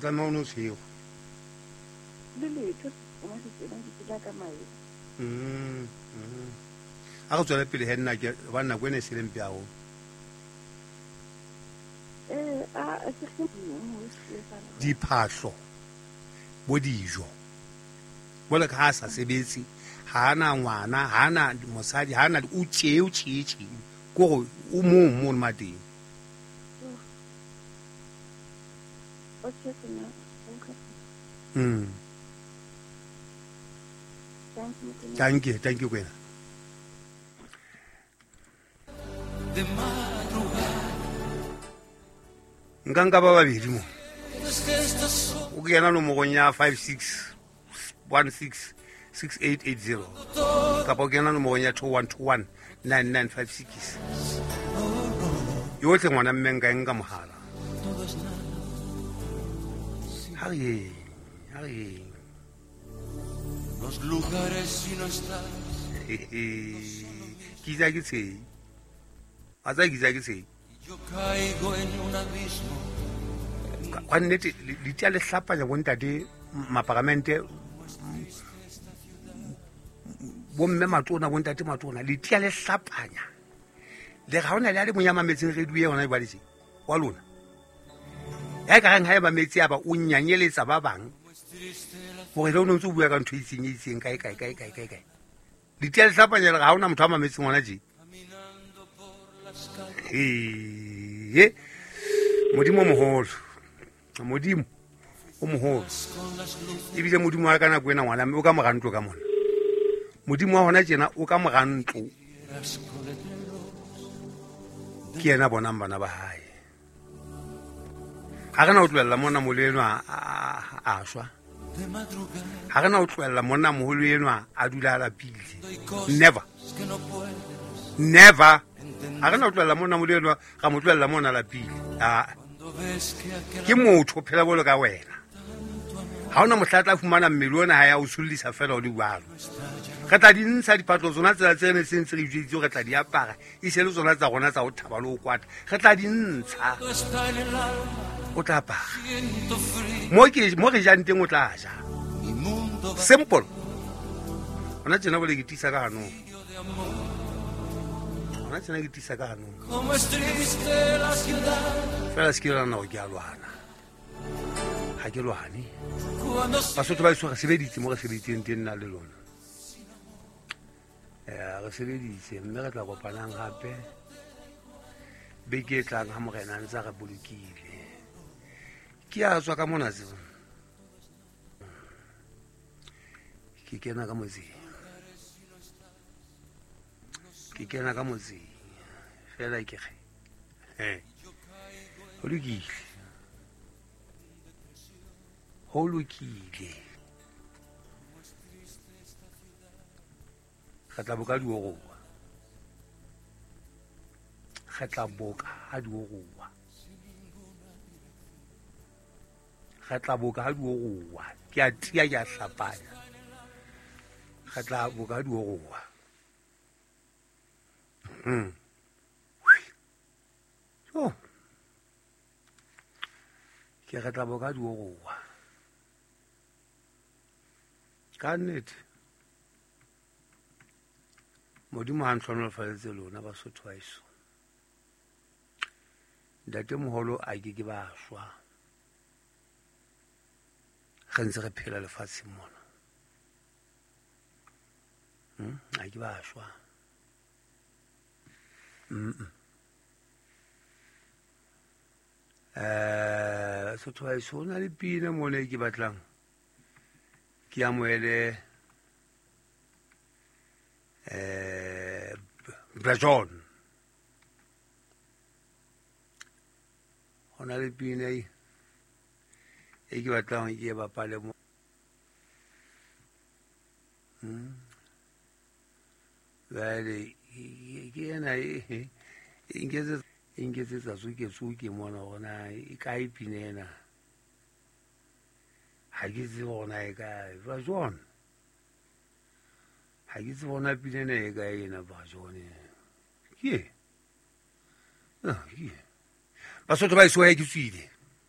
Tlameha o no tshego. Le letho mo setseleng ke tsela ka mae. A re tswele pele he nna ke ba nako ene e seleng mpe haholo. A ke ge Diphahlo bo dijo. Bole ka ha a sa sebetse, ha ana ngwana, ha ana mosadi, ha ana o tjee o tjee tjee. Ko gore o mong mono mateng. Okay, sena. Thank you. Thank you, thank you kwena. Nka nka ba babedi mo. O kena nomorong ya 5616 6880 kapa o kena nomorong ya 2121 9956. Yotlhe ngwana mme nka e nka mohala. Ha re yeng, ha re yeng. Los lugares si no estás. Ke itse ha ke tshehe. Wa tseba ke itse ha ke tshehe. Yo caigo en un abismo. Ka nnete, le tia le hlapanya bontate maparamente, bomme matona, bontate matona, le tia le hlapanya. Le ga hona le a le mong ya mametseng radio e hona jwale tje, wa lona. Ya ka reng ha e mametse ya ba o nyanyeletsa ba bang. Hore le o ntse o bua ka ntho e itseng, e itseng, kae, kae, kae, kae, kae, kae. Le tia le hlapanya le ga hona motho a mametseng hona tje. Ee, Modimo o moholo. Modimo o moholo. Ebile Modimo wa ka nako ena ngwana mme o ka mora ntlo ka mona. Modimo wa hona tjena o ka mora ntlo. Ke yena bonang bana ba hae. Ha re na ho tlohella monna moholo enwa a shwa. Ha re na ho tlohella monna moholo enwa a dula a lapile. Never. Never. Ha re na ho tlohella monna moholo enwa, ra mo tlohella mona a lapile. Ah. Ke motho o phela bolo ka wena. Ha hona mohla tla fumana mmele ona ha ya o sullisa fela o le jwalo. Re tla di ntsha dipatlo tsona tsela tse ne se ntse re ijweditse re tla di apara. E se le tsona tsa rona tsa ho thaba le ho kwata. Re tla di ntsha. O tla apara. Mo ke mo re jang teng o tla ja. Simple. Hona tjena bole ke tiisa ka hanong. Hona tjena ke tiisa ka hanong. Fela se ke la nna ke a lwana. Ha ke lwane. Basotho ba eso re sebeditse mo re sebeditseng teng nna le lona. Re sebeditse mme re tla kopanang hape beke e tlang ha morena a ntse a re bolokile. Ke a tswa ka mona tseo. Ke kena ka motseng. Ke kena ka motseng. Fela ke re. Ho lokile. Ho lokile. Re tla boka dioroa. Re tla boka ha dioroa. Re tla boka ha dioroa. Ke a tia, ke a hlapanya. Re tla boka ha dioroa. Oh. Ke re tla boka ha dioroa. Ka nnete. Modimo ha ntlhonolofaletse lona Basotho ba heso. Ntate moholo a ke ke ba shwa. Re ntse re phela lefatsheng mona. A ke ba shwa. Basotho ba heso, ho na le pina mona e ke batlang ke amohele Brajon. Ho na le pina e ke batlang ke e bapale mo. Jwale ke ena e nketsetsa tsoke-tsoke mona hore na e kae pina ena. Ha ke tsebe hore na e kae. Brajon. Ha ke tsebe hore na pina ena e kae ena, Brajon. Ke e? Ah, ke e. Basotho ba eso he ke tswile.